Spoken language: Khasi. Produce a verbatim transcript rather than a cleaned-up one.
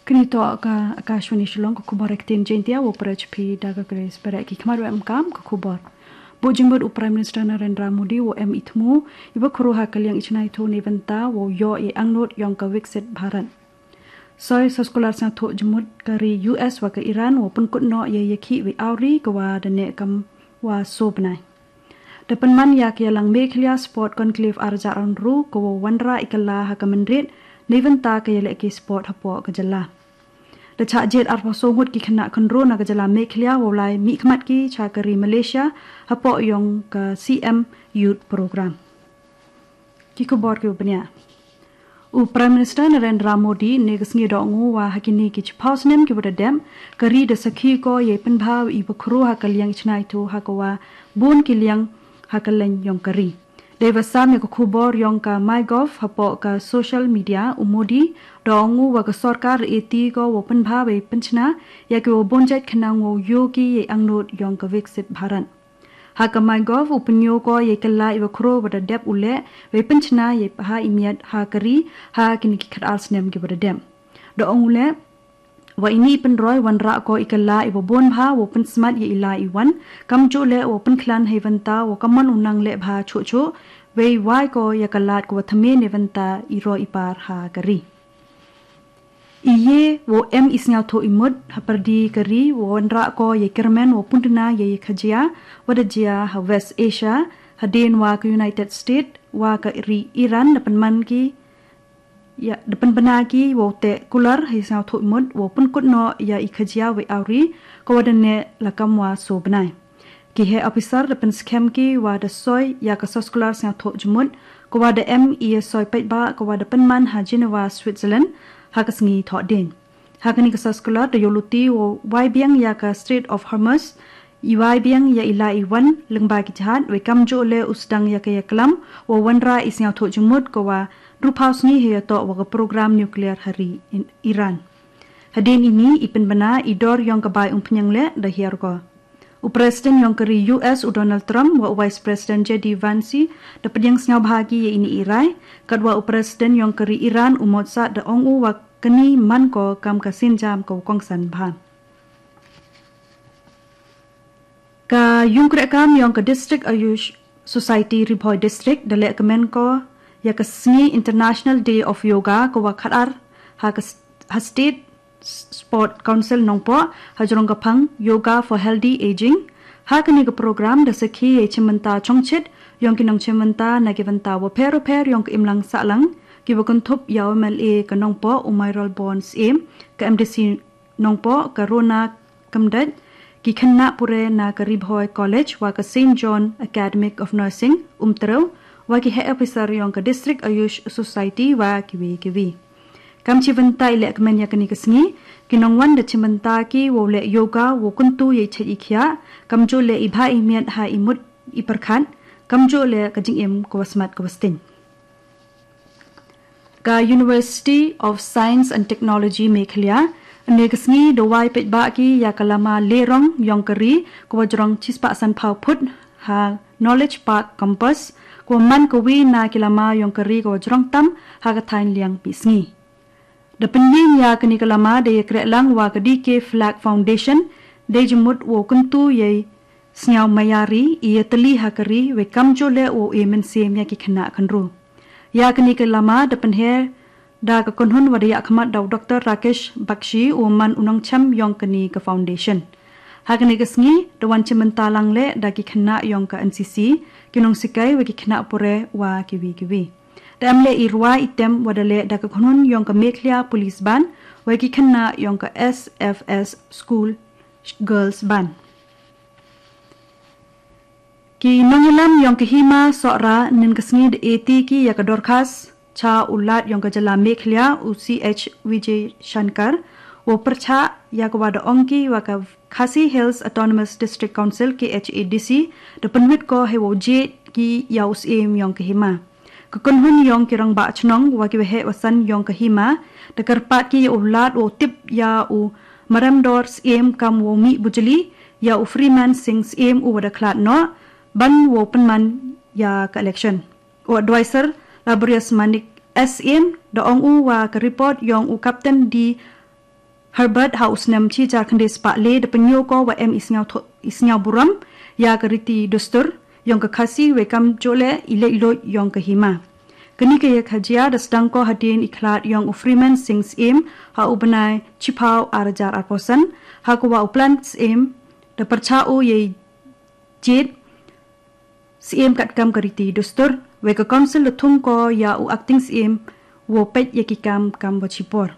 Kini to ka Akashvani Shillong, ka khubor ha ka ktien Jaiñtia, wow pyrshah phi da ka Grace Bareh. Ki khmat wa em kam ka khubor. Buh jingmut u Prime Minister Narendra Modi wow em i thmu iba khruh ha ka liang i chynna i thaw neibynta wow yoh i angnud yong ka Viksit Bharat. Soi soskular sngewthuh jingmut ka ri U S wa ka Iran wow pynkut noh ya ya ki wi awri ka wa da ne kam wa so bnai. Da pynman ya ka yalang Meghalaya Sport Conclave arja aron ru ka wow wanrah i kala ha ka mynrit neibynta ka yaleh ki sport hapoh ka jylla. Da chah jied arphew so ngut ki khynnah khynroo na ka jylla Meghalaya wow lai mih khmat ki cha ka ri Malaysia hapoh yong ka C M Youth Program. Ki khubor ki u bniah. U Prime Minister Narendra Modi ne ka sngi da ong u wa ha kini ki chiphaw snem ki wa da dep, ka ri da sakhi ko yei pynbha iba khruh ha ka liang i chynna i thaw ha ka wa bun ki liang ha ka liang yong ka ri. Dei wa sam ya ka khubor yong ka MyGov hapoh ka social media, u Modi da ong u wa ka sorkar e ti ko wow pynbha wei pynchna ya ki wa bun jait khnang wow yoh ki yei angnud yong ka Viksit Bharat. Ha ka MyGov u pynyoh ko yei kala iwa khruh wa da dep u leh, wei pynchna yei bha i miat ha ka ri ha kini ki khatar snem ki wa da dep. Da ong u leh wa ini i pynroi wanrah ko i kala iwa bun bha wow pynsmat yei i la i wan, kamjooh leh wow pynkhlaiñ hei bynta wow kamon u nang leh bha chuh chuh, wei wai ko ya ka lad ko wa thymme neibynta i roi i par ha ka ri. I ye wow em i sngewthuh i mut ha pyrdi ka ri wow wanrah ko yei kyrmen wow pynduna yei khajia wa da jia ha West Asia, hadien wa ka United States wa ka ri Iran da pynman ki ya da pynbna ki wow teh kular hei sngewthuh i mut wow pynkut noh ya i khajia wei awri ka wa da ne la kam wa so bnai. Ki heh officer da pynskhem ki wa da soi ya ka soskular sngewthuh jingmut ka wa da em i ya soi paidbah ka wa da pynman ha Geneva, Switzerland, ha ka sngi Thohdieng. Ha kani ka soskular da yoh luti wow wai biang ya ka Strait of Hormuz, i wai biang ya i la i wan lyngba ki jahaj, wei kamjooh leh u sdang ya ka ya klam wow wanrah i sngewthuh jingmut ka wa hynriewphew sngi hei ya toh wa ka program nuclear ha ri Iran. Hadien ini i pynbna i dor yong ka bai umphniang leh da hiar ko. U President yong ka ri U S u Donald Trump wa u Vice President J D Vance da pdiang sngewbha ki ya ini i rai, katwa u President yong ka ri Iran u Mossad da ong u wa kani man ko kam ka sienjam ka wa kongsan bha. Ka yung kreh kam yong ka District Ayush Society Ri Bhoi District da leh kmen ko ya ka sngi International Day of Yoga ka wa khatar ha ka s- ha State Sport Council Nongpoh ha jrong ka phang Yoga for Healthy Aging. Ha kani ka program da sakhi yei chimbynta chongchit yong ki nongchimbynta na ki bynta wa pher wa pher yong ka imlang sahlang, ki wa kynthup ya u M L A ka Nongpoh u Mayralborn Syiem, ka M D C Nongpoh ka Rona Kymdait, ki khynnah pule na ka Ri Bhoi College wa ka Saint John Academy of Nursing Umtrew, wa ki heh officer yong ka District Ayush Society wa kiwi kiwi. Kam chibynta i leh kmen ya kani ka sngi, ki nongwan da chibynta ki wow leh yoga wow kyntu yei chait i khiah, kamjooh leh i bha i miat ha i mut i pyrkhat, kamjooh leh ka jingim ka wa smat ka wa sting. Ka University of Science and Technology Meghalaya ne ka sngi da wai paidbah ki ya ka lama lerong yong ka ri ka wa jrong chispah sanphew phut ha Knowledge Park Campus, ka wa man ka wi na ki lama yong ka ri ka wa jrong tam ha ka thaiñ liang phi sngi. Da pynyin ya kani ka lama da ya kreh lang wa ka D K Flag Foundation, da jingmut wow kyntu yei sngewmaya ri, i ya tylli ha ka ri, wei kamjooh leh wow e mynsiem ya ki khynnah khynroo. Ya kani ka lama da pynher da ka kynhun wa da ya khmat da u Doctor Rakesh Bakshi u man u nongchem yong kani ka foundation. Ha kani ka sngi da wan chimbynta lang leh da ki khynnah yong ka N C C, ki nongsikai wa ki khynnah pule wa kiwi kiwi. Da em leh i rwai i tem wa da leh da ka kynhun yong ka Meghalaya Police Band wa ki khynnah yong ka S F S School Girls Band. Ki nongïalam yong ka Hima Sohra nin ka sngi da e ti ki ya ka dorkhas cha u Lat yong ka jylla Meghalaya u C H Vijay Shankar, wow pyrchah ya ka wa da ong ki wa ka Khasi Hills Autonomous District Council, K H A D C, da pynwit ko hei wow jied ki ya u Syiem yong ka Hima. Ka kynhun yong ki rangbah chnong wa ki wa heh wa san yong ka Hima da kyrpad ki ya u Lat wow tip ya u Maremdor Syiem kam wow mih bujli, ya u Freeman Singh Syiem u wa da khlad noh ban wow pynman ya ka election. U advisor Laborious Manik S Syiem da ong u wa ka report yong u Captain D Herbert ha u snem shi hajar khyndai spah le da pynïoh ko wa em i sngewthuh i sngewburom ïa ka riti dustur yong ka Khasi wei kam joleh i leit luid yong ka hima. Kani ka ïa ka jia da sdang ko hadien i khlad yong u Freeman Singh Syiem ha u bnai chiphaw ar hajar arphew san, ha ka wa u Plan Syiem da pyrchah u ïa i jied Syiem katkam ka riti dustur, wei ka Council da thung ko ïa u Acting Syiem wow peit ïa ki kam kam wa chipor.